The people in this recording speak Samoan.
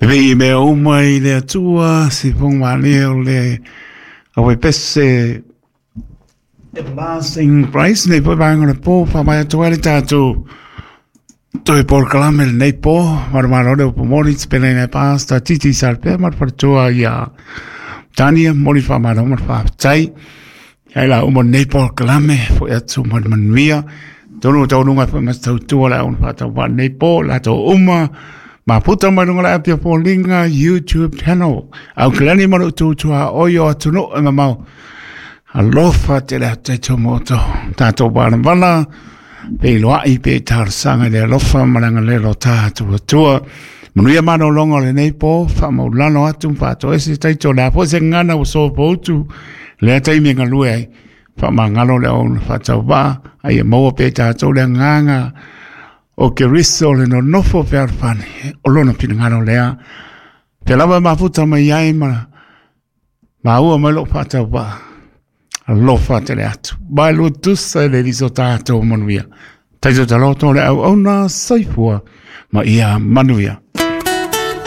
Pepei i mea uma i le Atua, si fonga malie o le awe pese Everlasting Grace, nei foi vaega o le po, whamai atu ai le tātou toe polokalame lenei po, marumaro le upu moni, te pele nei pāsta, titi sarpea, mar wharatua i a Tania, moni whamaro, mar whawhtai. Hei la uma nei polokalame, foi atu ma le manuia, tonu o taununga foi mas tautua le auna whātau wā nei po, la tau uma, ma puta mai lunga le apia pōlinga YouTube channel. Au kilani maru tūtua oio atu no e mamau. Alofa tele atu e tō moto. Tātou wāna pe iloai pe talosaga i le alofa ma le agalelei o tatou Atua. Manuia malologa o lenei po, faamaulalo atu ma faatoese taito o le a foi se gagana ua sopoutu lea taimi e galue ai. Faamagalo le auauna faatauvaa, a ia maua pea i tatou le agaga o Keriso le nonofo fealofani o lona finagalo lea. Pea lava e mafuta mai ai ma maua mai lou faatauvaa. Alofa tele atu. Mai lua tusa e le liso tatou manuia. Taito taloto le auauna soifua ma ia manuia.